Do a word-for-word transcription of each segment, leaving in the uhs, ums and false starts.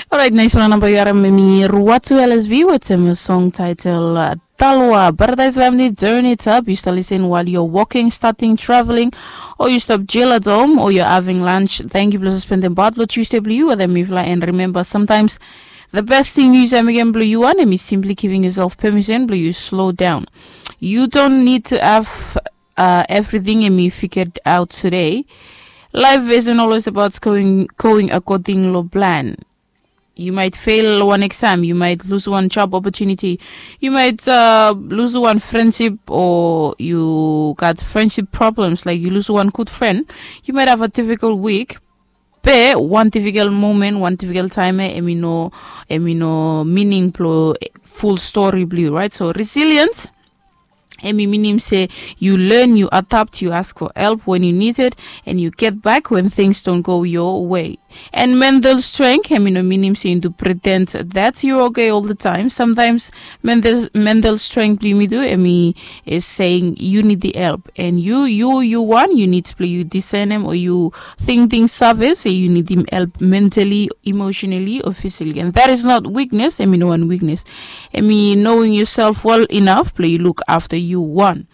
Orait, nais wan namba yu harim em i Ruatu L S B wetem song title uh, Talwa. Paradise Family, Turn It Up. Yu stap lisin while you're walking, starting, traveling, o yu stap chill at home, o you're having lunch. Thank you blong spendem part blong Tuesday blong yu wetem mifala. And remember, sometimes the best thing yu save mekem blong yu wan em i simply giving yourself permission blong yu slow down. You don't need to have uh, everything em i figured out today. Life isn't always about going, going according lo plan. You might fail one exam, you might lose one job opportunity, you might uh, lose one friendship, or you got friendship problems, like you lose one good friend. You might have a difficult week. Be one difficult moment, one difficult time, eh, em i no, em i no meaning blong full story blong yu, right? So resilience, em i minim se yu learn, yu adapt, yu ask for help when you need it, and you get back when things don't go your way. And mental strength, em i no minim se yu do pretend that you're okay all the time. Sometimes mental, mental strength blong yumi tu, em i is saying you need the help, and you, you, you wan, you need blong yu discern em, o yu think things save se yu nidim help mentally, emotionally, or physically. And that is not weakness, em i no wan weakness. Em i knowing yourself well enough blong yu look after yu wan.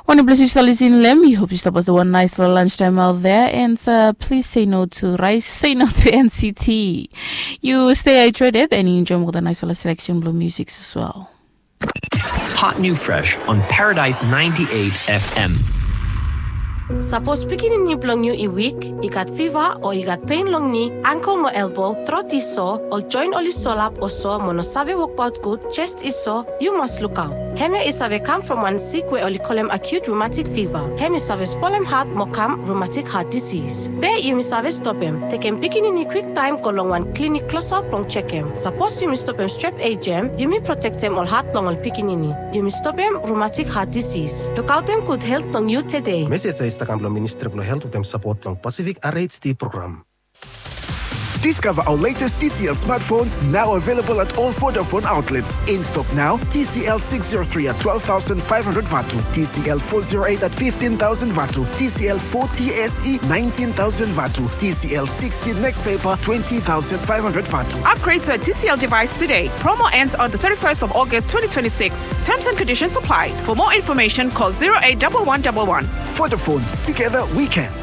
Wanem ples yu stap lisin long em, yu hope yu stap pasem wan nais long lunch time out there, and uh, please say no to rice, say no to N C T. Yu stay hydrated and yu enjoy olgeta nais long selection blong music as well. Hot New Fresh on Paradise ninety-eight F M. Sapos pikinini blong yu i wik, i gat fiva, o i gat pen long ni, angkel mo elbo, trot i so, ol joen oli solap o so mo no save wokbaot gud, jes i so, yu mas lukaot. Hemia i save kam from wan sik we oli kolem acute rheumatic fever. Hem i save spolem hat mo kam rheumatic heart disease. Be yumi save stopem, tekem pikinini kwiktaem go long wan klinik klosap blong jekem. Sapos yumi stopem strep ejem, yumi protektem ol hat blong ol pikinini. Yumi stopem rheumatic heart disease. Lukaotem gud helt blong yu tede. Mesej ya i stap kam blong Ministri blong Helt wetem sapot blong Pacific R H D program. Discover our latest T C L smartphones, now available at all Vodafone outlets. In stock now, T C L six zero three at twelve thousand five hundred vatu, T C L four zero eight at fifteen thousand vatu, T C L forty S E nineteen thousand vatu, T C L sixty Next Paper twenty thousand five hundred vatu. Upgrade to a T C L device today. Promo ends on the thirty-first of August twenty twenty-six. Terms and conditions apply. For more information, call zero eight double one double one. Vodafone, together we can.